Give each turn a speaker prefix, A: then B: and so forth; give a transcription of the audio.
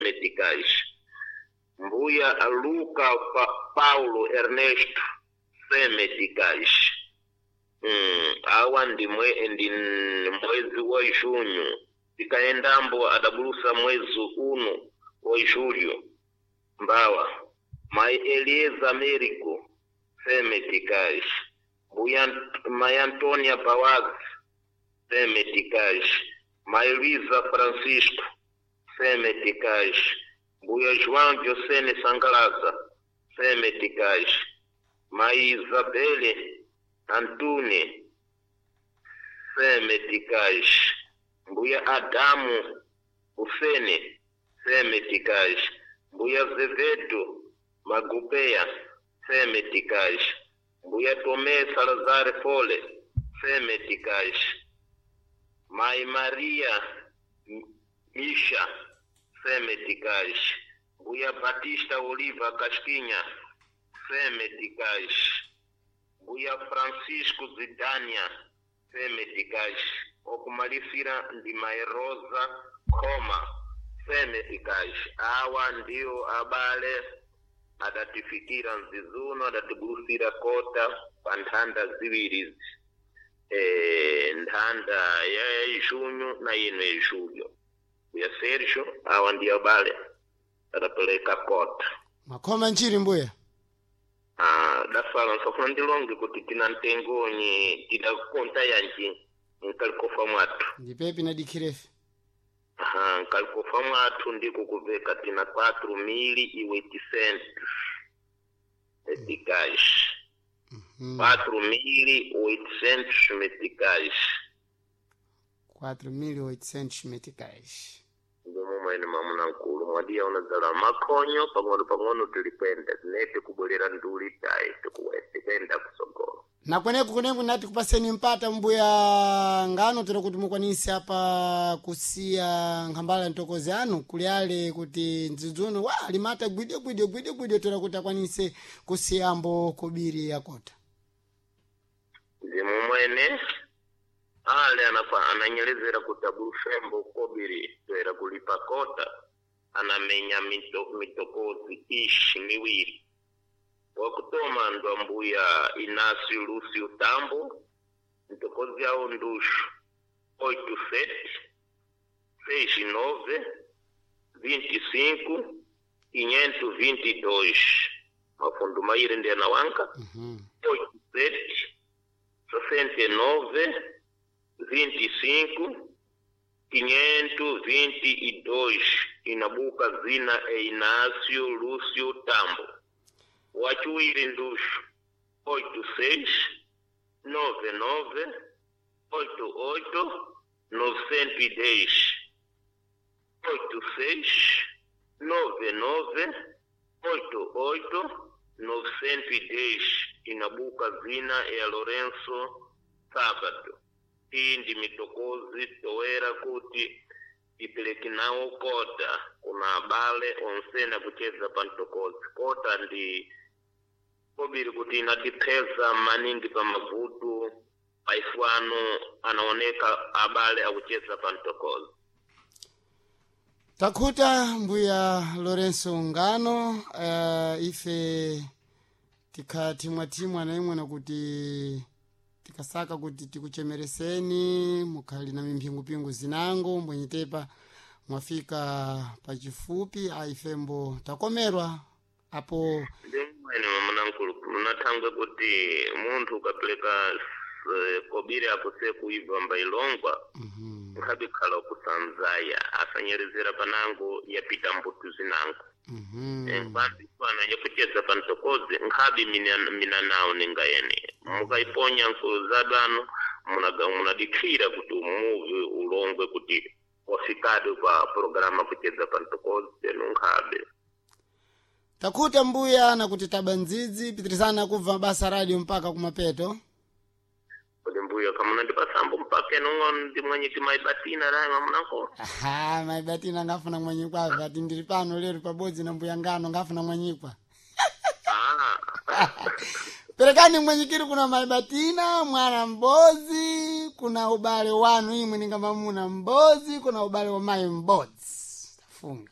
A: Meticais. Mbuya Luca Paulo Ernesto C. Meticais. Awa ndi ndi mwezi wa junho tikaendambo adabulusa mwezi uno wa julho mbawa mai Elieza Américo C. Meticais. Mbuya mai Antônia Bawaz C. Meticais. Mai Luísa Francisco C. Meticais. Mbuya João Josene Sangalaza C. Meticais. Mai Isabele Antune C. Meticais. Mbuya Adamu Ufene C. Meticais. Mbuya Zevedo Magupeia C. Meticais. Mbuya Tomé Salazar Fole C. Meticais. Mai Maria Misha C. Meticais. Mbuya Batista Oliva Casquinha C. Meticais. Mbuya Francisco Zidania C. Meticais. Okumalisira ndi Mai Rosa Khoma C. Meticais. Awa ndiwo abale adatifikira mzizuno adatibusira kota pa nthanda ziwiri izi. Nthanda ya junho na ino ya julho. Mbuya Sérgio awa ndiyo abale adapeleka kota.
B: Makhoma nchiri mbuya.
A: Dafala nsofuna ndilonge kuti tina mtengonyi tidakonta yanji nkalikofa mwathu.
B: Ndipepi nadikhirefe.
A: Aha, nkalikofa mwathu ndiko kuveka tina 4.800 meticais. 4.800 meticais.
B: 4.800 meticais.
A: Ndimo mwene mwamuna nkulu mwadiya unadzala makhonyo pang'ono pang'ono tilikwenda tinete kubwerera nduli tayi tikuenda kusogolo.
B: Na kweneku kuneku nati kupaseni mpata mbuya ngano tero kuti mukwanise apa kusiya nkhambala ntokozi anu kuli ale kuti mdzidzuno wa limata gwidyo gwidyo gwidyo gwidyo tero kuti akwanise kusiyambo kobiri yakota.
A: Ndimu mwene ale anapa ananyelezera kuti abulufembo kobiri toera kulipa kota anamenya mitokozi ishi miwiri. Wakutoma ndo ambuya Inácio Lúcio Tambo, mtokozi awo nduxu 87 69 25 522. Mafundo maire ndi anawanka. 87 69 25 522 inabuka zina e Inácio Lúcio Tambo. Wachiwiri nduxu 86 99 88 910. 86 99 88 910 inabuka zina ya Lourenço Sábado. Iyi ndi mitokozi toera kuti ipeleke nawo kota kuna abale onsena kucheza pa mtokozi. Kota ndi kobiri kuti inatipheza maningi pa mavuto paifwano anaoneka abale akucheza pa mtokozi.
B: Takhuta mbuya Lourenço Ngano, ife tikhathimwathimwa na imwe nakuti tikasaka kuti tikuchemereseni mukhali na mimphingupingu zinango mbwenyitepa mwafika pachifupi aifembo takomerwa apo.
A: Ndimwene mwamuna nkulu munathangwe kuti munthu ukapeleka kobiri apo sekuibva mbailongwa. Nkhabe khala kusanzaya asanyerezera panango yapita mbutu zinango. Nkwambi pana yakucheza pa mtokozi nkhabe mina nawo ninga yene mukaiponya nkuzadano munadikhira kuti umuvi ulongwe kuti wafikade pa programa kucheza pa mtokozi tenu nkhabe.
B: Takhuta mbuya nakuti taba ndzidzi pitirizana kubva basa radio mpaka kumapeto.
A: Kuti mbuya kamuna ndipasambo mpaka enong'ono ndi mwanyiki maibatina rayi mamunanko.
B: Aha, maibatina ngafuna mwanyikwa ati ndiri pano lero pabodzi na mbuya ngano ngafuna mwanyikwa. Perekani mwenyikiri kuna maibatina mwana mbozi kuna ubale wanu imwe ninga mamuna mbozi kuna ubale wa mai mbodzi. Tafunga.